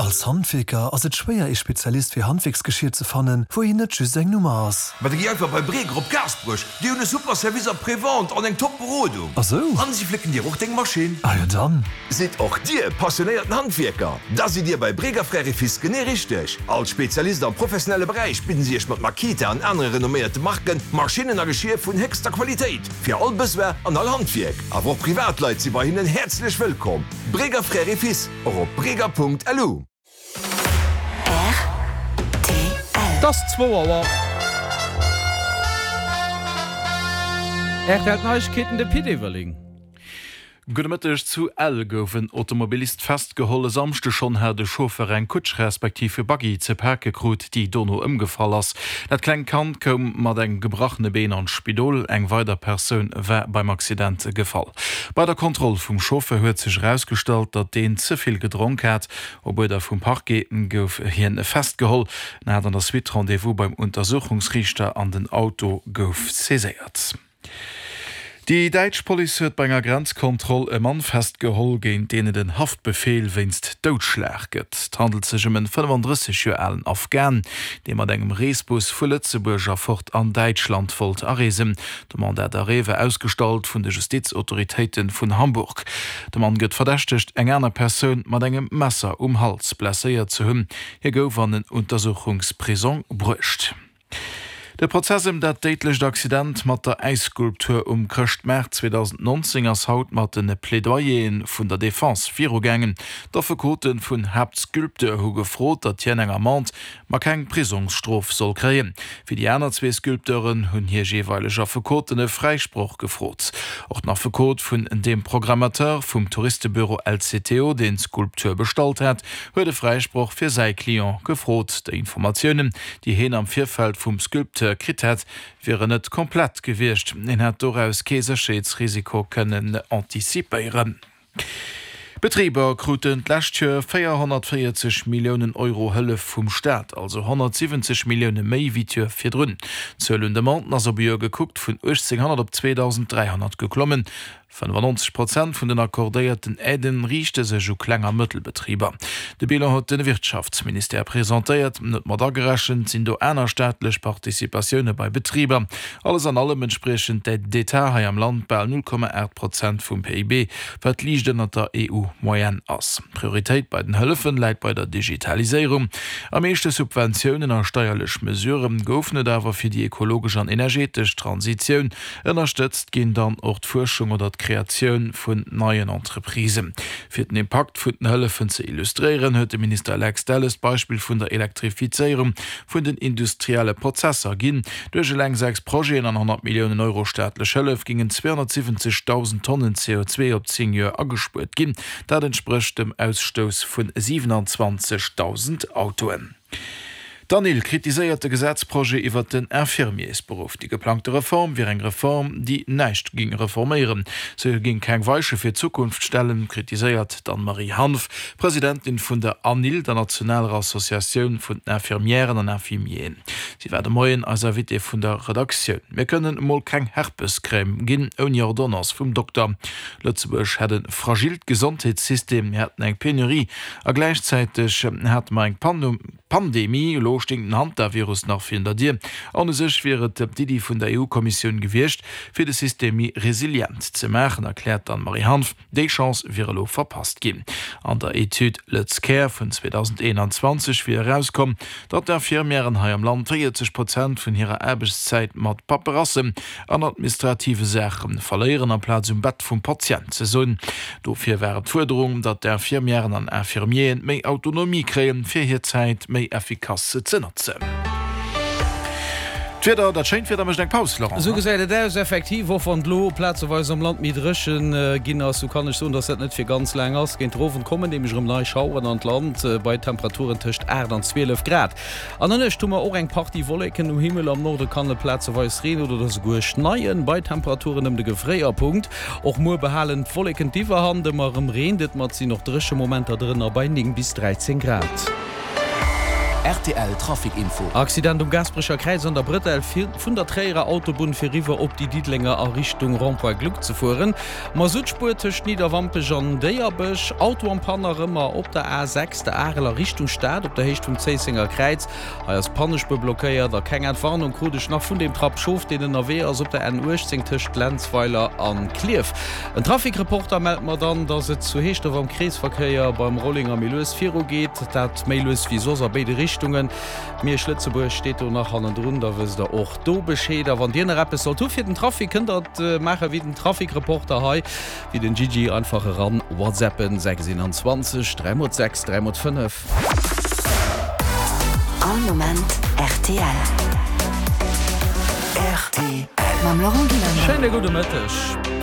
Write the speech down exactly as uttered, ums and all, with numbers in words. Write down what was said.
Als Handwierker ass et schwéier ee Spezialist fir Handwierksgeschier ze fannen, wou een net just eng Nummer ass. Ma da gi einfach bei Breger op Gaasperech, déi hunn e super Service après-vente an eng top Berodung. Ah sou? An si flécken dir och deng Maschinn. Ah jo dann. Sidd och dir passionéierten Handwierker? Da sidd dir bei Breger Frères et Fils genee richteg. Als Spezialist am professionelle Beräich bidden si iech mat Makita an anere renomméierte Marken Maschinnen a Geschier vun héchster Qualitéit fir all Besoin an all Handwierk. Awer och Privatleit si bei hinnen häerzlech wëllkomm. Breger Frères et Fils, och op breger.lu. Et ass zwou Auer. Rtl Neiegkeeten, de Pit Everling. Gudde Mëtteg, Zu Ell gouf en Automobilist festgeholl. E Samschde schonn hat e Chauffeur eng Kutsch respektiv e Buggy ze pake krut, déi dono ëmgefall ass. Dat klengt Kand koum mat engem gebrachene Been an d'Spidol. Eng weider Persoun war beim Accident gefall. Bei der Kontroll vum Chauffeur huet sech erausgestallt, datt deen ze vill gedronk hat. Op Uerder vum Parquet gouf hien festgeholl. En hat an der Suite Rendez-vous beim Untersuchungsriichter an den Auto gouf saiséiert. Déi däitsch Police huet bei enger Grenzkontroll e Mann festgeholl, géint deen et en Haftbefeel wéinst Doudschlag gëtt. Et handelt sech ëm en fënnefandrësseg Joer alen Afghan, dee mat engem Reesbus vu Lëtzebuerg erfort an Däitschland wollt areesen. De Mandat d'arrêt war ausgestallt vun de Justizautoritéite vun Hamburg. De Mann gëtt verdächtegt, eng aner Persoun mat engem Messer um Hals blesséiert ze hunn. Hie gouf an en Untersuchungsprisong bruecht. De Prozess ëm dat déidlecht Accident mat der Äisskulptur um Chrëschtmaart zweedausendnonzéng ass haut mat de Plädoyeren vun der Defense virugaangen. D'Affekote vun Haaptsculpteur hu gefrot, datt hien eng Amende, ma keng Prisongsstrof soll kréien. Fir déi aner zwee Sculpteuren hunn hir jeeweileg Affekoten e Fräisproch gefrot. Och den Affekot vun deem Programmateur vum Touristebüro L C T O, deen d'Skulptur bestallt hat, huet e Fräisproch fir säi Client gefrot. Déi Informatiounen, déi heen am Virfeld vum Sculpteur kritt hätt, wieren net komplett gewiescht. Hien hätt doraus kee Sécherheetsrisiko kënnen antizipéieren. D'Betriber kruten d'lescht Joer véierhonnertvéierzeg Milliounen Euro Hëllef vum Staat, also honnertsiwwenzeg Millioune méi wéi d'Joer virdrun. D'Zuel un Demanden ass op e Joer gekuckt vun uechtzénghonnert op zweedausend dräihonnert geklommen. Fënnefannonzeg Prozent vun den accordéierten Aiden riichte sech u Kleng a Mëttelbetriber. De Bilan huet de Wirtschaftsministère presentéiert. Net mat agerechent sinn do aner staatlech Participatioune bei Betriber. Alles an allem entspriechen d'Aides d'État hei am Land bal null Komma aacht Prozent vum P I B, wat liicht ënnert der E U-Moyenne ass. D'Prioritéit bei den Hëllefen läit bei der Digitaliséierung. Am meeschte Subventiounen a steierlech Mesurë goufen et awer fir déi ekologesch an energetesch Transitioun. Ënnerstëtzt ginn dann och d'Fuerschung oder d'Kreatioun vun neien Entreprisen. Fir den Impakt vun den Hëllefen ze illustréieren, huet de Minister Lex Delles d'Beispill vun der Elektrifizéierung vun den industrielle Prozesser ginn. Duerch eleng sechs Projeten an honnert Milliounen Euro staatlech Hëllef gingen zweehonnertsiwwenzegdausend Tonnen C O zwee op zéng Joer agespuert ginn. Dat entsprécht dem Ausstouss vun siwenanzwanzegdausend Autoen. D'Anil kritiséiert de Gesetzprojet iwwert den Infirmiersberuff. Déi geplangte Reform wier eng Reform, déi näischt géing reforméieren. Se géing keng Weiche fir d'Zukunft stellen, kritiséiert d'Anne-Marie Hanff, Presidentin vun der Anil, der nationaler Associatioun vun den Infirmièren an Infirmieren. Si war de Moien eis Invitée vun der Redaktioun. Mir kënnen emol keng Herpescrème ginn ouni Ordonnance vum Dokter. Lëtzebuerg hätt e fragilt Gesondheetssystem, mir hätten eng Penurie a gläichzäiteg hate mer eng Pandemie. Elo stéing den Hantavirus nach virun der Dier. An u sech wier et d'Iddi vun der E U-Kommissioun gewiescht, fir de System méi resilient ze maachen, erkläert d'Anne-Marie Hanff. Déi Chance wier elo verpasst ginn. An der Etüd LëtzCare vun zweedausendeenanzwanzeg wier erauskomm, datt d'Infirmièren hei am Land véierzeg Prozent vun hirer Aarbechtszäit mat Paperassen an administrative Saache verléieren, amplaz um Bett vum Patient ze sinn. Dofir war et d'Fuerderung, datt d'Infirmièren an Infirmieren méi Autonomie kréien, fir hir Zäit méi effikass ze notzen. D'Wieder, dat schéint Wieder mécht eng Paus, Laurent. Esou gesäit et aus, effektiv. Och wann et elo plazeweis am Land méi dréchen ginn ass, sou kann ech soen, dass dat net fir ganz laang ass. Géint den Owend kommen nämlech erëm nei Schaueren an d'Land, bei Temperaturen tëscht aacht an zwielef Grad. An der Nuecht hu mer och eng Partie Wolleken um Himmel, am Norde kann et plazeweis reene oder esouguer schneien, bei Temperaturen ëm de Gefréierpunkt. Och muer behalen d'Wolleken d'Iwwerhand, ëmmer erëm reent et, ma et sinn och dréche Momenter drënner bei néng bis dräizéng Grad. Rtl Trafic Info. Accident um Gaasperecher Kräiz an der Brëtell vun der Tréierer Autobunn fir riwwer op déi Diddelenger a Richtung Rond-point Gluck ze fueren. Masuttspuer tëscht Nidderwampech an Déierbech. Auto en panne nach ëmmer op der A sechs, der Arel a Richtung Stad op der Héicht vum Zéissenger Kräiz. Hei ass d'Pannespuer blockéiert a keng Entwarnung krut ech nach vun deem Trapp Schof, deen ënnerwee ass op der N uechtzéng tëscht Lenzweiler a Klierf. En Trafic-Reporter mellt mer dann, dass et zu Heeschdref am Kreesverkéier beim Rollinger méi lues viru geet, dat méi lues wéi soss a béide Richtungen. Miersch-Lëtzebuerg steet do nach hannendrun, da wësst der och do Bescheed. A wann dir nach eppes sollt hu fir den Trafic, kënnt der et maache wéi den Trafic-Reporter hei, wéi den Gigi, einfach eran whatsappen, sechs einundzwanzeg dräi mol sechs dräi mol fënnef. All Moment rtl. Rtl. Mam Laurent Gillander. Schéine gudde Mëtteg.